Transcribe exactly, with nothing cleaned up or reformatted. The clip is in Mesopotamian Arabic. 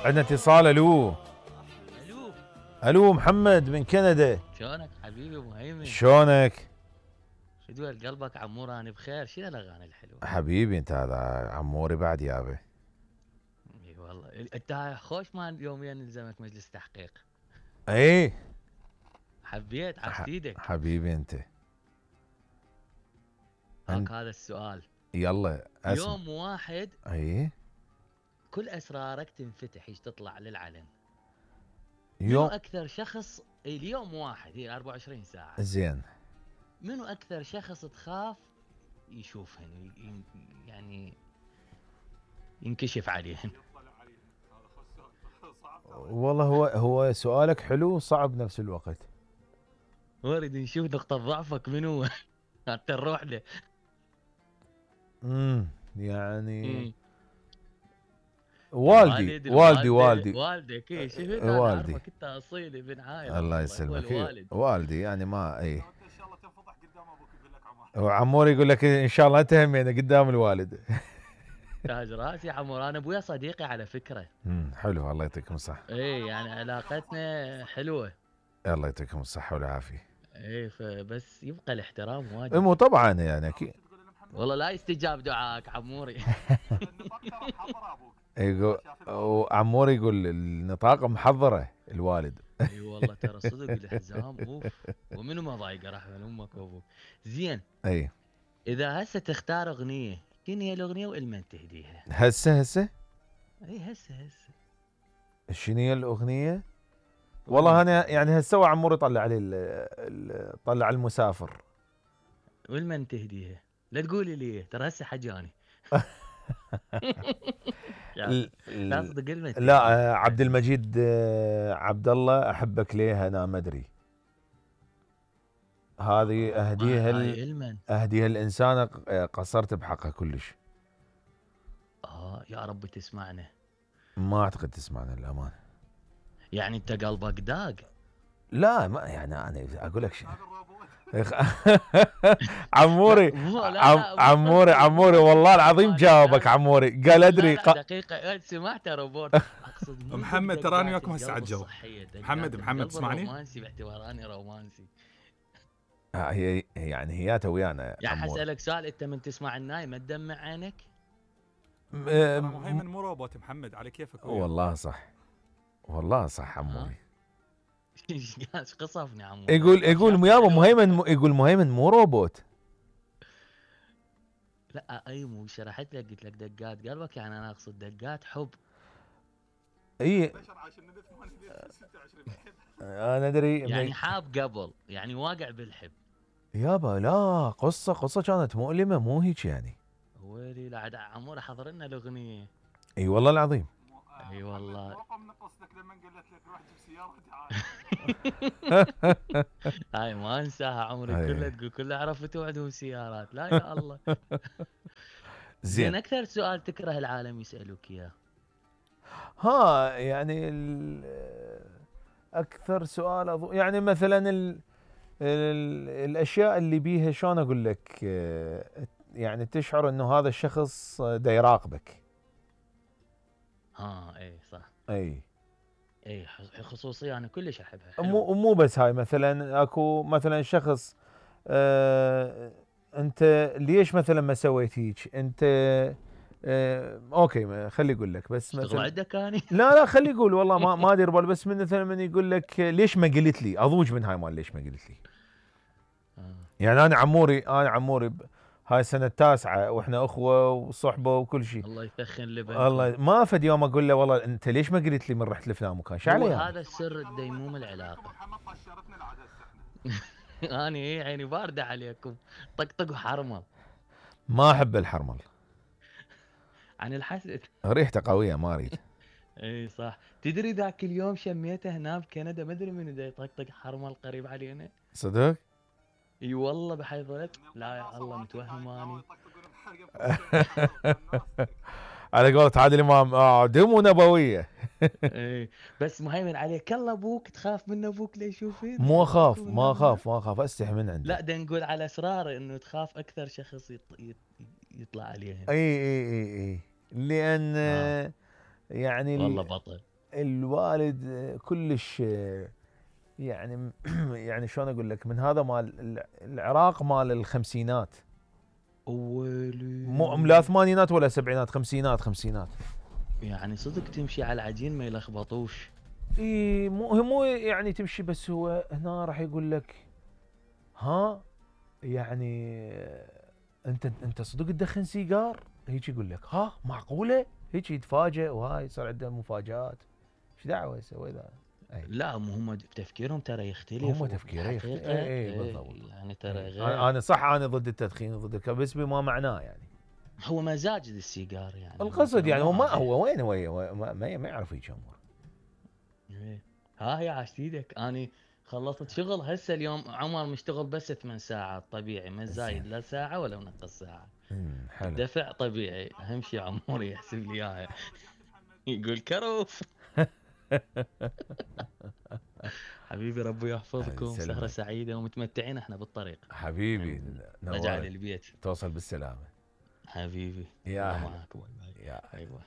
عندنا اتصال. الو الو الو محمد من كندا. شلونك حبيبي ابو هيمن؟ شلونك؟ شو دول قلبك عمور؟ انا بخير. شنو الاغاني الحلوه؟ حبيبي انت هذا عموري بعد يابا. اي والله انت خوش مال يوميا نلزمك مجلس تحقيق. ايه حبيت ح- عفتيدك. حبيبي انت. هاك هذا السؤال. يلا اسمع. يوم واحد ايه كل اسرارك تنفتح ايش تطلع للعلن. منو يوم اكثر شخص إي اليوم واحد هي أربعة وعشرين ساعه. زين. منو اكثر شخص تخاف يشوفهن ي- يعني ينكشف عليهن؟ والله هو هو سؤالك حلو صعب بنفس الوقت. نريد نشوف نقطه ضعفك منو حتى نروح له. امم يعني مم. والدي الوالد، والدي الوالدة، والدي والدك. اي شفت انا والدي اعرفك انت اصيل ابن عايل. الله والله هو يسلمك. الوالد. والدي يعني ما اي. ان شاء الله تنفضح قدام ابوك يقول لك عمار. وعمور يقول لك ان شاء الله انت همينه قدام الوالد. تاج راسي عمور. انا ابويا صديقي على فكره. امم حلو الله يعطيكم الصحة. اي يعني علاقتنا حلوه. الله يعطيكم الصحة والعافية. اي فبس يبقى الاحترام واجب. مو طبعا يعني اكيد. والله لا يستجاب دعائك عموري. النطاق ترى محضر ابوك. يقول وعمور يقول النطاق محضرة الوالد. اي والله ترى صدق الحزام اوف. ومنو ما ضايقه رحمه امك وابوك. زين اي اذا هسه تختار اغنيه شنو هي الاغنيه والمن تهديها؟ هسه هسه اي هسه هسه شنو هي الاغنية؟ والله انا يعني هسه عمور يطلع علي ال- ال- طلع المسافر. والمن تهديها؟ لا تقولي لي ترى هسه حجاني. ال- لا ال- صدق المن لا تهديها. آه، عبد المجيد آه، عبد الله احبك ليه انا ما ادري. هذه اهديها ال- هاي المن. اهديها الانسانة قصرت بحقها كلش. اه يا رب تسمعنا. ما اعتقد تسمعنا للامانه. يعني انت قلبك داق. لا ما يعني انا اقول لك شيء. عموري مو- لا، عم لا، مو عموري قصدي. عموري والله العظيم لا، جاوبك لا. عموري قال ادري لا لا ق... دقيقة إيه، سمعت روبوت. اقصد مو محمد، دقات تراني وياكم القلب هسه على الجو. الصحية، دقات محمد، محمد، القلب تسمعني؟ الرومانسي باعتبار اني رومانسي. آه، هي يعني هي ويانا يعني عموري. حسألك سؤال، انت من تسمع الناي ما تدمع عينك؟ م- ترى م- مهيمن مو روبوت محمد، على كيفك وياه. والله صح والله صح عموري. ايش قصفني عمو. يقول يقول يابا مهيمن م- يقول مهيمن مو روبوت. لا اي مو شرحت لك قلت لك دقات قلبك، يعني انا اقصد دقات حب. اي بشر عايش النبي ثمانية ستة وعشرين. انا ادري يعني حاب قبل، يعني واقع بالحب. يابا لا قصه قصه كانت مؤلمه مو هيك يعني. ويلي لا عاد عمور حضر لنا الاغنيه. اي والله العظيم. اي والله. موقع من قصدك لما قلت لك روح جيب سياره تعال. هاي ما انساها عمري أي. كلها تقول كلها عرفت وعدهم سيارات. لا يا الله. زين زين اكثر سؤال تكره العالم يسالوك اياه؟ ها يعني ال- اكثر سؤال أظن يعني مثلا ال ال الاشياء اللي بيها شلون اقول لك آه، يعني تشعر انه هذا الشخص دا يراقبك. ها اي صح. اي اي خصوصيه انا كلش احبها. مو حلوة. مو بس هاي مثلا اكو مثلا شخص آه انت ليش مثلا ما سويت هيك انت آه اوكي ما- خلي اقول لك بس اشتغل مثلا عندك اني. لا لا خلي يقول والله ما ما ادري بال بس من مثلا من يقول لك ليش ما قلت لي اضوج من هاي مال ليش ما قلت لي. آه. يعني انا عموري انا عموري ب- هاي السنه التاسعه واحنا اخوه وصحبه وكل شيء. الله يثخن لبنك. الله ما فد يوم اقول له والله انت ليش ما قلت لي من رحت لفلان مكان شو هو علي هذا السر ديموم العلاقه. محمد طشرتنا العدد احنا. اني ايه عيني بارده عليكم. طقطق وحرمل. ما احب الحرمل عن الحسد. ريحته قويه ما اريد. اي صح. تدري ذاك اليوم شميته هنا بكندا ما ادري من دا يطقطق حرمل قريب علينا. صدق؟ اي والله بحي ظلت. لا يا الله متوهم اني. على قولة عادل امام آه دم نبويه. اي بس مهيمن عليك الله ابوك تخاف من ابوك ليشوفين. مو اخاف ما اخاف ما اخاف استحي من عنده. لا دا نقول على اسراره انه تخاف اكثر شخص يط... يط... يطلع عليها. اي اي اي اي لان آه. يعني ال- والله بطل. الوالد آه، كلش آه، يعني يعني شلون اقول لك، من هذا مال الع- العراق مال الخمسينات، مو ويلي لا ثمانينات ولا سبعينات، خمسينات خمسينات. يعني صدق تمشي على العجين ما يلخبطوش. اي مو هو مو يعني تمشي، بس هو هنا راح يقول لك ها يعني آه، انت انت صدق تدخن سيجار؟ هيك يقول لك ها معقوله؟ هيك يتفاجئ، وهاي يصير عنده مفاجآت. ايش دعوه يسوي ذا؟ اي لا مو هم تفكيرهم ترى يختلف هم تفكيره يختلف. الحقيقة اي اي إيه، بالضبط. يعني ترى إي. غير. انا أنا صح، انا ضد التدخين وضد الكذا، بس بما معناه يعني. هو مزاج السيجار يعني القصد ترى يعني هو مو ما عادي. هو وين هو هو ما, ما ما يعرف هيك امور. إيه. ها هي عاشت ايدك اني خلصت شغل هسه اليوم عمر مشتغل بس ثمان ساعات طبيعي، ما زايد لا ساعة ولا نقص ساعة. امم حلو. الدفع طبيعي، اهم شيء عمور يحسب لي اياها. يقول كروف. حبيبي ربي يحفظكم، سهرة يسلمك. سعيدة ومتمتعين احنا بالطريق. حبيبي رجع نوال، للبيت. توصل بالسلامه. حبيبي يا الله هلا. معاك. باي باي. يا باي باي.